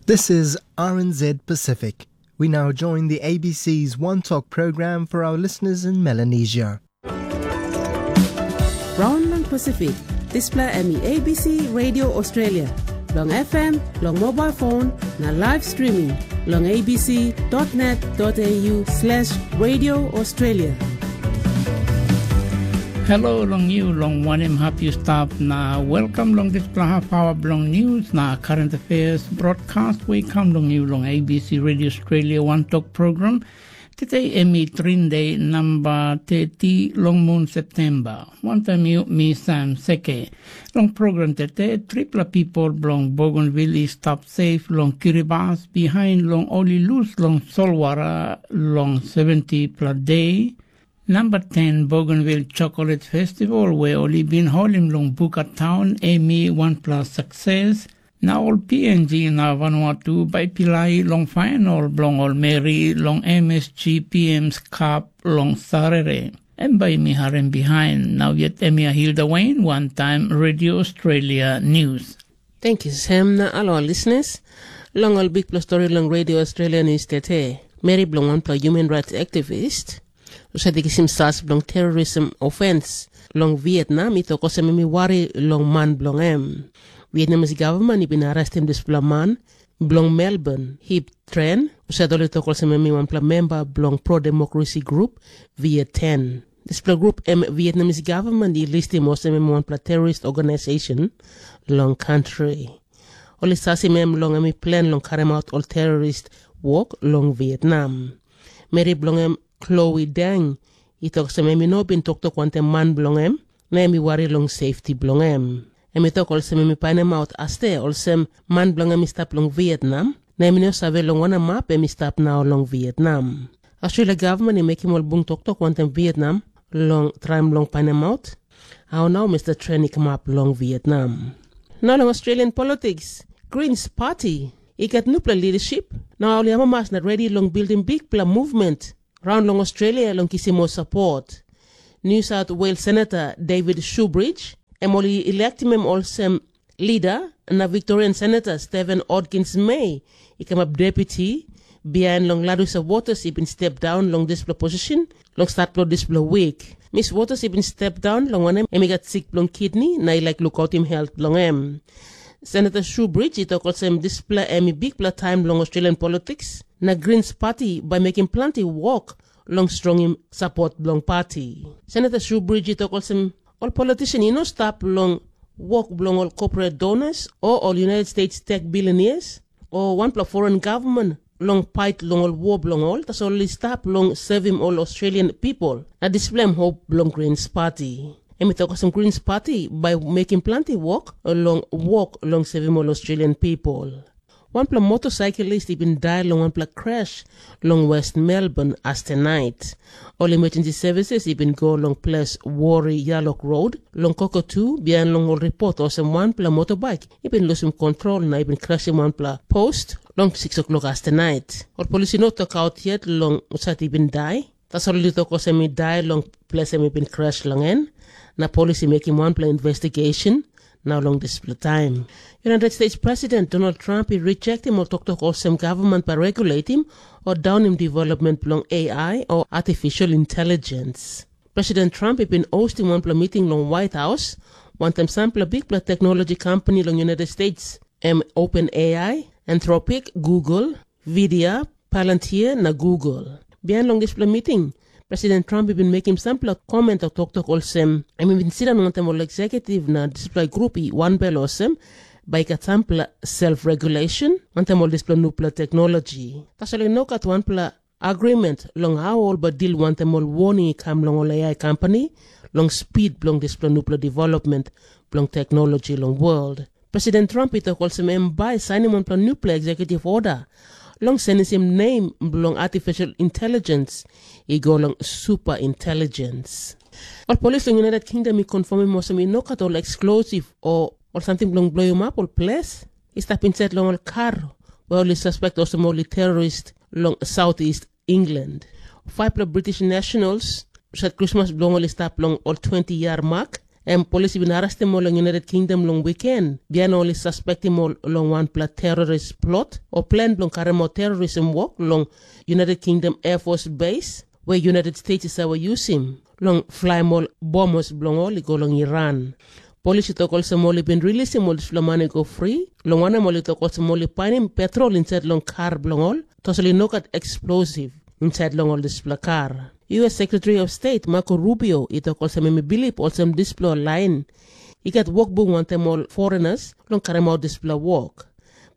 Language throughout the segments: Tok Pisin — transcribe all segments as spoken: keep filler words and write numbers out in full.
This is R N Z Pacific. We now join the A B C's One Talk program for our listeners in Melanesia. Raun long Pasifik, dispela em i A B C Radio Australia, long F M, long mobile phone, na live streaming long A B C dot net dot A U slash Radio Australia. Hello long you, long wanem hap you stap, na welcome long dispela half hour bilong news na current affairs broadcast we come long you long A B C Radio Australia One Talk program. Today em i Trinde number thirty long moon September. Wantaim you, mi Sam Seke. Long program tete, tripla people bilong Bougainville i stap safe long Kiribati bihain long ol i lus long solwara long seventy pla de. Namba ten Bougainville Chocolate Festival we ol i bin holim long Buka Town em i wanpela sukses. Na ol P N G na Vanuatu bai pilai long final bilong ol meri long M S G P M's Cup long Sarere. Em bai mi harim bihain, nau yet em i Hilda Wayne, one time Radio Australia News. Thank you, Sam, na alo listeners. Long ol bikpela story long Radio Australia News tete, meri bilong wanpela human rights activist, husat i kisim sas bilong terrorism offense long Vietnam, i tok olsem em i wari long man bilong em. Vietnamese government i bin arrestim dispela man bilong Melbourne Hip Tren, husat ol i tok olsem em i wanpela memba bilong pro-democracy grup Viet ten. Dispela grup em Vietnamese government i listim olsem em wanpela terrorist organization long country. Ol i sasim em long em i plan long karemaut ol terrorist wok long Vietnam. Meri bilong em, Chloe Deng, i tok olsem em i no bin toktok wantaim man bilong em, na em i wari long sefti bilong em. Em i tok olsem em i painimaut aste olsem man bilong em i stap long Vietnam, na em i no save long wanem hap em i stap nau long Vietnam. Australia gavman i mekim ol bung toktok wantaim Vietnam long traim long painimaut hau nau Mr Tren i kamap long Vietnam. Na long Australian politiks, Greens Party i gat nupela lidaship, na ol i amamas na redi long bildim bikpela movement raun long Australia long kisim ol sapot. New South Wales Senator David Shoebridge, em ol i electim em olsem lida, na Victorian Senator Stephen Odkins May i kamap deputi, bihain long Larissa Waters i bin step daun long dispela posishin long stat bilong dispela wik. Miss Waters i bin step daun, long wanem, em i gat sik bilong kidni na i laik lukautim helt bilong em. Senator Shoebridge i tok olsem dispela em i bikpela taim long Australian politiks, na Greens Party bai mekim planti wok long strongim sapot bilong pati. Senator Shoebridge i tok olsem, ol politician i no stap long wok bilong ol corporate donors o ol United States tech billionaires o wanpela foreign government long pait long ol wok bilong ol, tasol ol i stap long sevim ol Australian pipel, na dispela em hop bilong Greens Party. Em i tok olsem Greens Party bai mekim planti wok long wok long sevim ol Australian pipel. Wanpela motosaiklis i bin dai long wanpela kres long West Melbourne astenait. Ol emergency services i bin go long ples Wori Yalok Road long Kokatu, bihain long ol ripot olsem wanpela motobaik i bin lusim kontrol na i bin krasim wanpela post long six o'clock astenait. Ol polis i no tokaut yet long husat i bin dai, tasol ol i tok olsem i dai long ples em i bin kres long en, na polis i mekim wanpela investigation. Nau long dispela taim, United States President Donald Trump i rejektim ol toktok olsem gavman bai reguletim o daunim development bilong A I o artificial intelligence. President Trump i bin hostim wanpela miting long White House wantaim sampela bikpela teknologi kompani long United States, em OpenAI, Anthropic, Google, Vidia, Palantir na Google. Bihain long dispela miting, President Trump i bin mekim sampela koment o toktok olsem, em i bin sindaun wantaim ol eksekutiv na dispela grup i wanbel olsem, bai i gat sampela self-regulation wantaim ol dispela nupela teknologi. Tasol i no gat wanpela agreement long hau ol bai dil wantaim ol warning i kam long ol A I kompani long spid bilong dispela nupela development bilong teknologi long world. President Trump i tok olsem em bai sainim wanpela nupela executive order long senisim nem bilong artificial intelligence i go long super intelligence. Ol polis long United Kingdom i konfirmim olsem i no gat ol eksplosiv o ol samting bilong bloim ap ol ples i stap insait long ol kar, we ol i suspek olsem ol i terorist long Southeast England. Faipela British nationals, set krismas bilong ol i stap long ol twenty yia mak, Em polis i bin arrestim ol long United Kingdom long wiken, bihain ol i saspektim ol long wanpela terrorist plot o plen bilong karimautim terrorism wok long United Kingdom Air Force Base, we United States i save yusim long flaim ol bombas bilong ol i go long Iran. Polis i tok olsem ol i bin rilisim ol dispela man i go fri, long wanem, ol i tok olsem ol i painim petrol insait long kar bilong ol, tasol i no gat eksplosiv insait long ol dispela kar. U S Secretary of State Marco Rubio i tok olsem em i bilip olsem dispela lain i gat wokbung wantaim ol foreigners long karemaut dispela wok.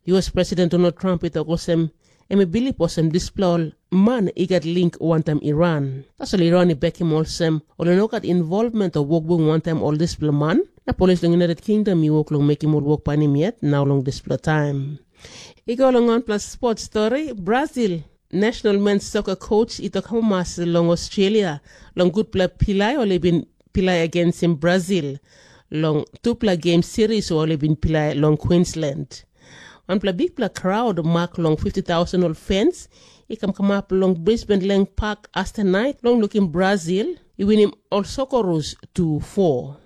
U S President Donald Trump i tok olsem em i bilip olsem dispela ol man i gat link wantaim Iran. Tasol Iran i bekim olsem ol i no gat involvment o wokbung wantaim ol dispela man, na polis long United Kingdom i wok long mekim ol wok painim yet nau long dispela taim. I go long wanpela sport stori, Brazil national men's soccer coach i tok amamas long Australia long gutpela pilai ol i bin pilai agensim Brazil long tupela game series ol i bin pilai long Queensland. Wanpela bikpela crowd mak long fifty thousand ol fans i kam kamap long Brisbane Leng Park astanait long lukim Brazil i winim ol Socceroos tu four.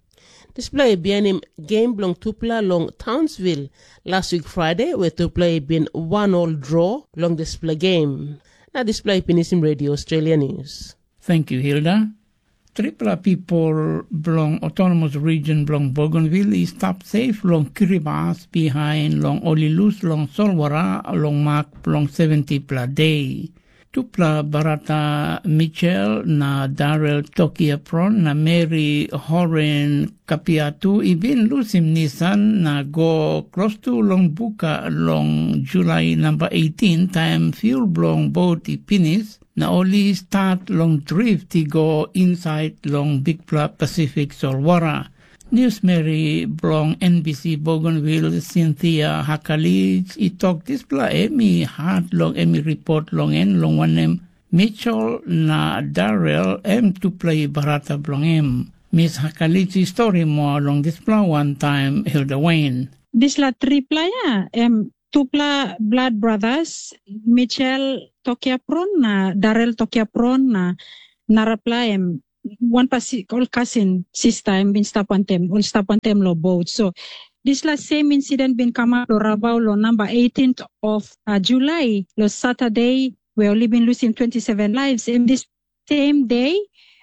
Dispela i bihainim game bilong tupela long Townsville las wik Friday, we tupela i bin wan ol dro long dispela game. Na dispela i pinisim Radio Australia News. Thank you, Hilda. Tripela people bilong Autonomous Region bilong Bougainville i stap safe long Kiribati bihain long ol i lus long solwara long mak bilong seventipela de. Tupela brata Mitchell na Darrell Tokiapron na Mary Horen Kapiatu i bin lusim Nissan na go klostu long buka long Julai namba eighteen, taim fuel bilong bot i pinis, na ol i stat long drift i go insait long bikpela Pasifik solwara. Niusmeri bilong N B C Bougainville, Cynthia Hakalich, i tok dispela em i hat long em i ripot long en, long wanem, Mitchell na Darrell em tupela i brata bilong em. Miss Hakalich i stori moa long dispela wantaim Hilda Wayne. Dispela tripela ya, em tupela blood brothers, Mitchell Tokiapron na Darrell Tokiapron, na narapela em wanpela si-, ol kasin sista, em bin stap wantaim, ol stap wantaim lo bot. So dispela same incident bin kamap lo Rabaul lo namba eighteenth of, uh, July, lo Saturday, we ol i bin lusim twenty-seven lives. Em dis same day,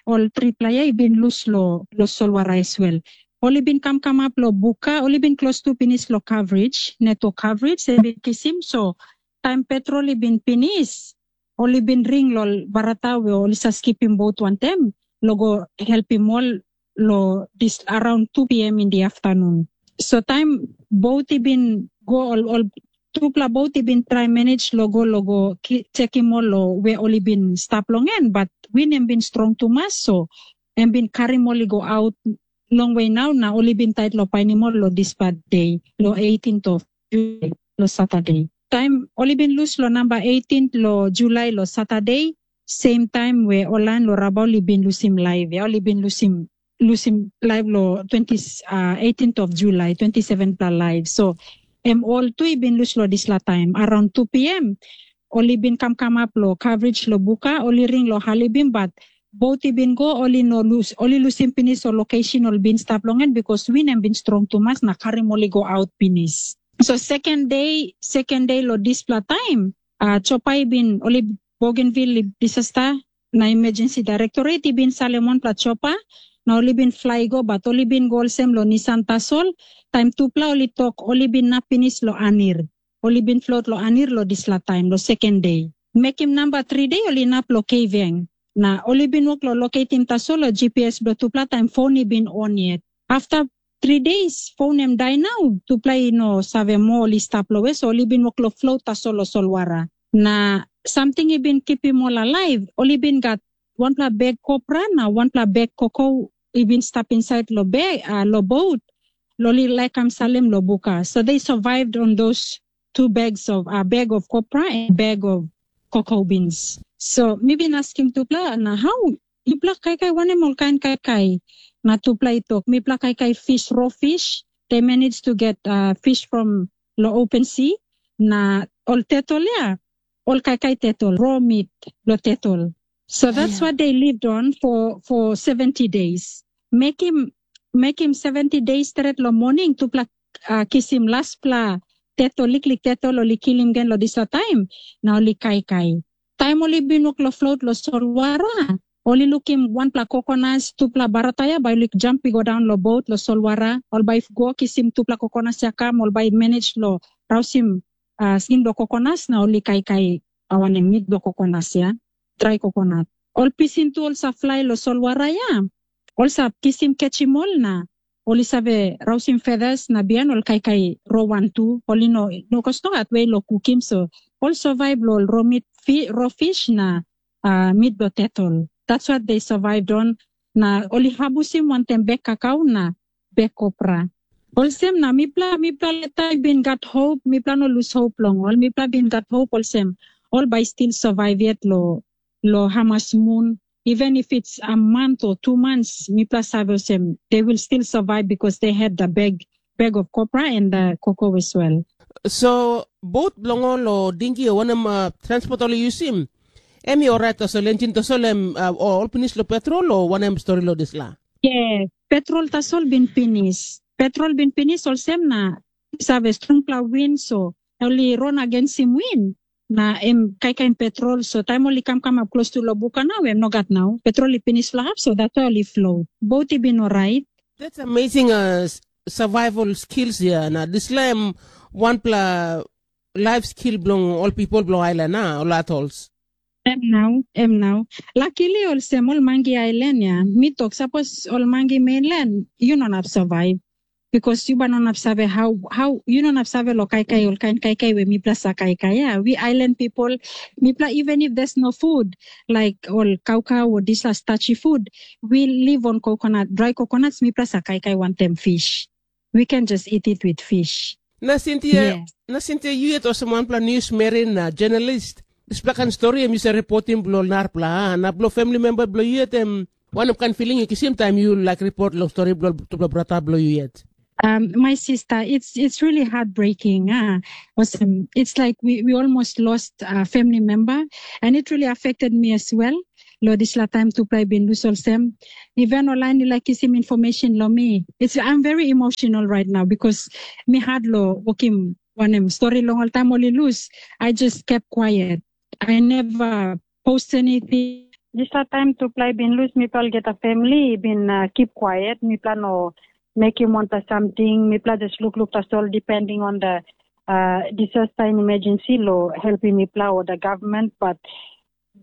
ol tripela ya i bin lus lo, lo solwara as well. Ol i bin kam kamap lo buka, ol i bin klostu pinis lo coverage, network coverage, em bin kisim. So taim petrol i bin pinis, ol i bin ring lo ol barata we ol i sa skipim bot wantaim, lo go helpim ol lo dis around two p m in the afternoon. So taim bot i bin go, ol, ol tupela bot i bin trai manage lo go, lo go ki-, chekim ol lo we ol i bin stap long en, but win em bin strong tumas, so em bin karim ol i go aut longwe nau, na ol i bin tait lo painim ol lo dispela de, lo eighteenth of July, lo Saturday. Taim ol i bin lus lo namba eighteenth lo July lo Saturday, same taim we ol lain lo Rabaul i bin lusim laip, ya, ol i bin lusim, lusim laip lo twenty, uh, eighteenth of July, twenty-seven pela laip. So em ol tu i bin lus lo dispela taim, around two p m. Ol i bin kam kamap lo coverage lo buka, ol i ring lo halibim, but bot i bin go, ol i no lus, ol i lusim pinis ol location ol bin stap long en, because win em bin strong tumas na karim ol i go aut pinis. So second day, second day lo dispela taim, uh, chopa i bin, ol i Bougainville Disaster na Emergency Directorate i bin salim wanpela chopa, na ol i bin fly go, but ol i bin go olsem lo Nissan tasol, taim tupela ol i tok, ol i bin nap pinis lo anir. Ol i bin flot lo anir lo dispela taim, lo second day. Mekim namba three day, ol i nap lo Keiveng. Na ol i bin wok lo loketim tasol lo G P S bilong tupela taim phone i bin on yet. After three days, phone em dai nau, tupela i no save moa ol i stap lo we, so ol i bin wok lo float tasol lo solwara. Na samting i bin kipim ol alaiv, ol i bin gat wanpela bek kopra na wanpela bek koko i bin stap insait lo bek, uh, lo boat, lo ol i laik kam salim lo buka. So they survived on those two bags of, uh, bag of copra and bag of cocoa beans. So mi bin askim tupela, na hau yupela kaikai wanem ol kain kaikai? Na tupela i tok, mipela kaikai fish, raw fish. They managed to get, uh, fish from lo open sea. Na ol tetol ya, ol kaikai tetol, raw meat lo tetol. So that's what they lived on for, for seventy days. Mekim mekim seventy days stret long moning, tupela uh, kisim laspela teto, liklik teto, ol i kilim gen long dispela taim, na ol i kaikai. Taim ol i bin wok long flot long solwara, ol i lukim wanpela kokonas, tupela barataia, bai ol i jump i go daun long bot long solwara, ol bai go kisim tupela kokonas ya kam, ol bai manage long rausim uh, skin bilong kokonas, na ol i kaikai awanem mit bilong kokonas ya, drai kokonat. Ol pisin tu ol sa flai long solwara ya, ol sa kisim kechim ol na ol i save rausim feathers na bihain ol kaikai rowan tu, ol i no, no kos nogat we long kukim, so ol survive long ol ro meat, fi, ro fish na uh, meat bilong turtle. That's what they survived on. Na ol i habusim wantaim bek kakau na bek kopra. Olsem na mipela, mipela leta i bin gat hope, mipela no lose hope long ol. Mipela bin gat hope olsem, ol bai still survive yet lo, lo hamas moon. Even if it's a month or two months, mipela save olsem, they will still survive because they had the bag, bag of copra and the cocoa as well. So, boat bilong ol o dingi o wanem uh, transport ol i yusim, em i orait tasol, engine tasol em uh, ol pinis lo petrol o wanem stori lo disla? Yes, petrol tasol bin pinis. Petrol bin pinis olsem na save strongpela win, so ol i ron agensim win. Na em kaikain petrol, so taim ol i kam kamap klostu long buka nau, em no gat nau. Petrol i pinis long hap, so that's why ol i float. Boat i bin orait. That's amazing uh, survival skills ya. Na disla em wanpela life skill bilong ol people bilong island, na ol atolls. Em nau, em nau. Luckily olsem ol mangi island ya, mi tok, sapos ol mangi mainland, you no nap survive. Because you ba no nap save how, how you no nap save lo kaikai ol kain kaikai we mipela sa kaikai. Yeah, we island people, mipela, even if there's no food, like ol kaukau or disla starchy food, we live on coconut, dry coconuts, mipela sa kaikai wantaim fish. We can just eat it with fish. Na Cynthia, yes. Na Cynthia, yu yet olsem wanpela news meri na journalist. Dispela kain stori em yu sa reportim bilong narpela, a? Na bilong family member bilong yu yet em wanem kain feeling yu kisim taim yu laik report long stori bilong tupela brata bilong yu yet? Um, my sister, it's it's really heartbreaking. Ah, awesome. It's like we, we almost lost a family member, and it really affected me as well. Lo dispela taim tupela i bin lus olsem, even ol lain i laik kisim information lo mi. It's, I'm very emotional right now because mi had lo wokim wanem stori long ol taim ol i lus. I just kept quiet. I never post anything. Dispela taim tupela i bin lus, mipela olgeta family i bin uh, keep quiet. Mipela no mekim wanpela samting. Mipela just lukluk tasol, depending on the uh, disaster and emergency lo helpim mipela o the government. But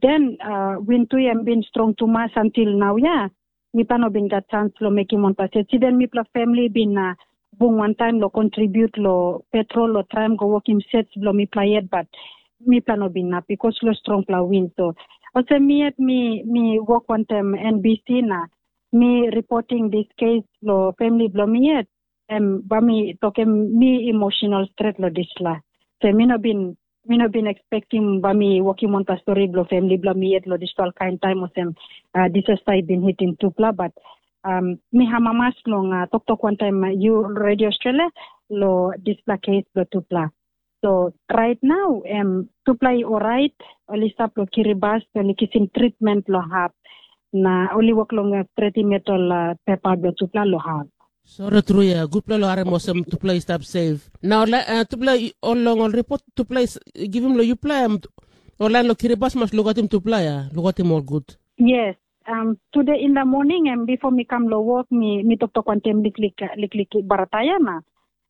then uh, win tu em bin strong tumas until now, ya. Mipela no bin gat chance lo mekim wanpela sets. Even mipela family bin uh, bung wantaim lo contribute lo petrol lo traim go wokim sets bilong mipela yet, but mipela no bin inap because lo strongpela win. So olsem mi yet mi mi wok wantaim N B C na mi reporting this case lo family bilong mi yet, em ba mi tokim mi emotional stret lo dispela. So mi no bin mi no bin expectim ba mi wokim wanpela stori bilong family bilong mi yet lo dispela kain taim olsem uh, disaster i bin hitim tupela, but um, mi hamamas long uh, toktok wantaim uh, yu Radio Australia lo dispela case bilong tupela. So right now em tupela i orait, ol i stap lo Kiribati, ol i kisim treatment lo hap, na ol i wok long uh, stretim yet ol uh, pepa bilong tupela lo hap. Sori tru ya, gutpela lo harim olsem tupela i stap safe. Na ol uh, tupela ol long ol report tupela i givim lo yupela em ol lain lo Kiribati mas lukatim tupela ya, lukatim ol gut. Yes, um, today in the morning em before mi kam lo work mi mi toktok wantaim liklik liklik barataya na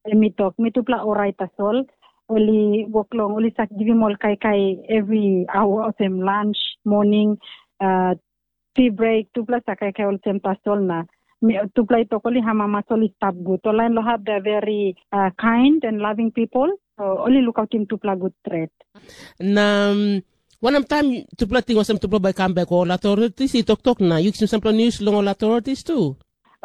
em mi tok mi tupela orait tasol. Ol i wok long ol i sak givim ol kaikai every hour olsem lunch, morning, uh, tea break, tupela sa kaikai olsem tasol na tupela i tok ol i hamamas ol i stap gut. Ol lain lo hap de very uh, kind and loving people. So ol i lukautim tupela gut stret. Na um, wanem taim tupela ting olsem tupela bai kam bek, ol authorities i toktok na yu kisim sampela news long ol authorities tu?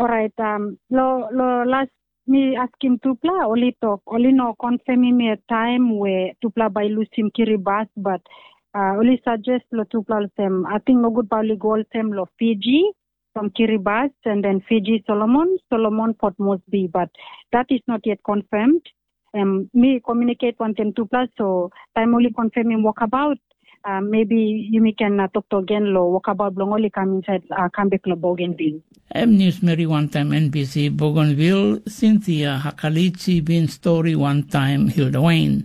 Orait, um, lo, lo last mi askim tupela, ol i tok, ol i no confirmim yet taim we tupela bai lusim Kiribati, but uh, ol i suggest lo tupela olsem, ating nogut bai ol i go olsem lo Fiji, from Kiribati, and then Fiji, Solomon, Solomon, Port Moresby, but that is not yet confirmed. Um, mi communicate wantaim tupela, so taim ol i confirmim walkabout, Uh, maybe yumi can uh, toktok gen lo wakabaut bilong ol i kam inside uh, kam bek lo Bougainville. Em niusmeri wantaim N B C Bougainville, Cynthia Hakalichi bin stori wantaim Hilda Wayne.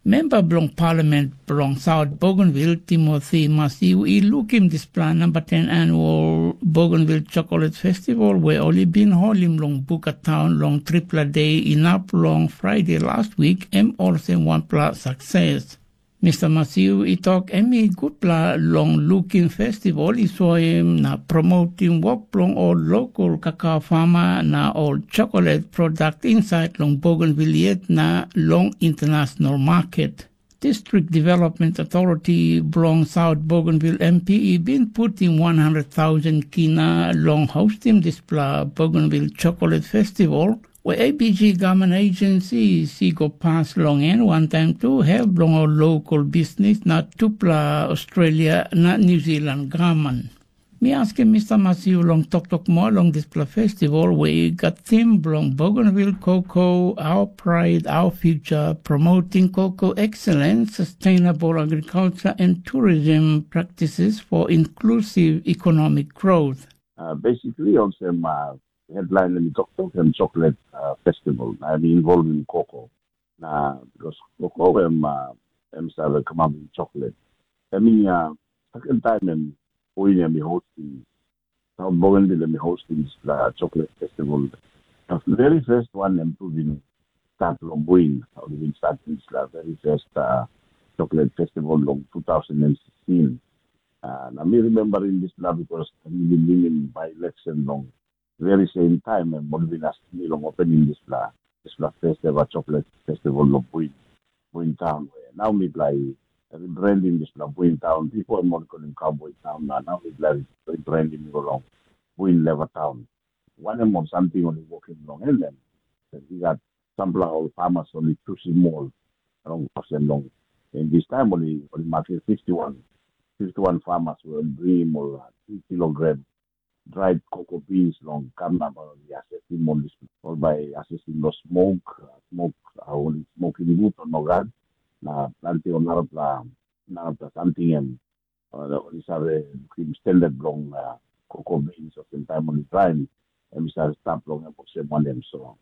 Memba bilong Parliament bilong South Bougainville, Timothy Masiu, i lukim dispela namba ten annual Bougainville Chocolate Festival we ol i bin holim long Buka Town long tripela de inap long Friday last week, em olsem wanpela sukses. Mister Masiu i tok em i gutpela long lukim festival i soim na promotim wok bilong ol lokal kakao fama na ol chocolate product inside long Bougainville yet na long international market. District Development Authority bilong South Bougainville M P i bin putim one hundred thousand kina long hostim dispela Bougainville Chocolate Festival, we A B G Government Agency i go pas long en wantaim tu help bilong ol lokal bisnis na tupela Australia na New Zealand government. Mi askim Mister Masiu long toktok moa long dispela festival we i gat tim bilong Bougainville Cocoa, Our Pride, Our Future, Promoting Cocoa Excellence, Sustainable Agriculture and Tourism Practices for Inclusive Economic Growth. Uh, basically, olsem uh, headline em i toktok em chocolate uh, festival, na em i involvim cocoa. Na because cocoa em uh, em save kamapim chocolate. Em i uh, second time em Queen em i hosting, South Bougainville em i hosting dispela chocolate festival. The very first one em tu bin start long Buin, ol bin start dispela very first uh, chocolate festival long two thousand sixteen. Uh, na mi remembering dispela because mi bin winim by election long very same time em ol bin askim mi long opening dispela dispela first ever chocolate festival long Buin, Buin town. Where now mi bla rebranding dispela Buin town. Before em ol kolim Cowboy Town, na now mi bla rebranding go long Buin Leva Town. Wanem ol samting ol i wokim long en em. I gat sampela ol farmers ol i chusim ol long olsem long in this time ol i ol i makim fifty one, fifty one farmers ol bringim ol uh, two kilogram dried cocoa beans long kam na ol i asesim ol dis ol bai asesim lo smoke, uh, smoke uh, ol i smoking gut o nogat, na planti ol narapela narapela samting em uh, ol i save lukim standard bilong uh, cocoa beans olsem taim ol i traim em i save stap long em olsem wanem so.